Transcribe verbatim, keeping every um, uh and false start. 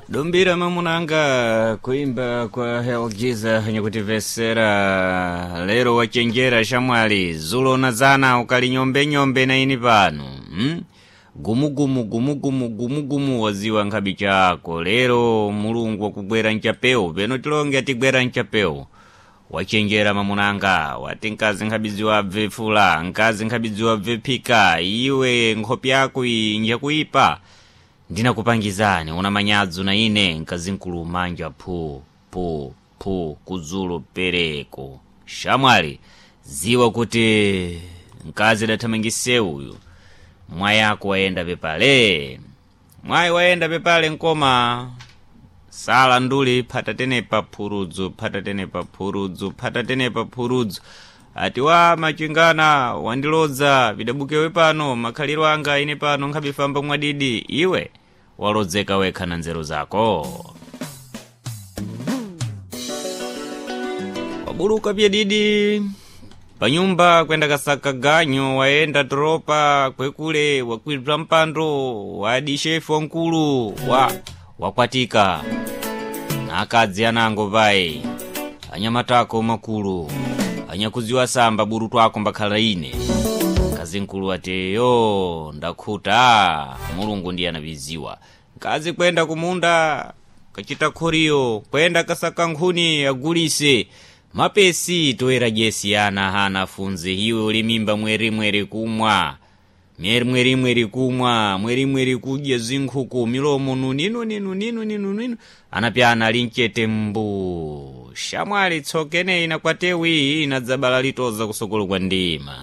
Dombira mamunanga kuimba kwa Helgiza nyakutivesera lero wachenjera shamwali zulo na zana ukali nyombe nyombe na ini pano hmm? Gumugumu gumugumu gumugumu waziwa nkhabi chako lero mulungu wakugwera nchapewu peno tilonge atigwera nchapewu wachenjera mamunanga wati nkazi nkhabidziwa abve fula nkazi nkhabidziwa abve phika iwe nkhope yako iyi njakuipa ndinakupangizani una manyadzu na ine nkazinkulu manja phu phu phu kudzulo pereko shamwali ziwa kuti mkazi adathamangise uyu mwayi ako wayenda pepale mwayi wayenda pepale nkoma sala nduli phatatenepa phurudzu phatatenepa phurudzu phatatenepa phurudzu ati wa machingana wandilodza vidabukewe pano makhaliro anga ine pano nkhabifamba mwadidi iwe walodzeka wekha na nzeru zako wabuluka pyedidi panyumba kwenda kasaka ganyo wayenda tropa kwekule wakwibza mpando wadi shefu wankulu wa wakwatika na akadzi anango payi anyamatako makulu anyakudziwa samba buru twako mbakhala ine mkazi mkulu ati yo ndakhuta mulungu ndiye anaviziwa mkazi kwenda kumunda kachita khoriyo kwenda kasaka nkhuni agulise mapesi toera jesi ana hana funze iwe uli mimba mwerimweri kumwa mwerimwerimweri kumwa mwerimweri kudya zinkhuku milomo nuninu ninu ninu ninu ninu anapyana ali mchete mbu shamwali tsokeneyi nakwatewi inadzabala litoza kusokolo kwa ndima.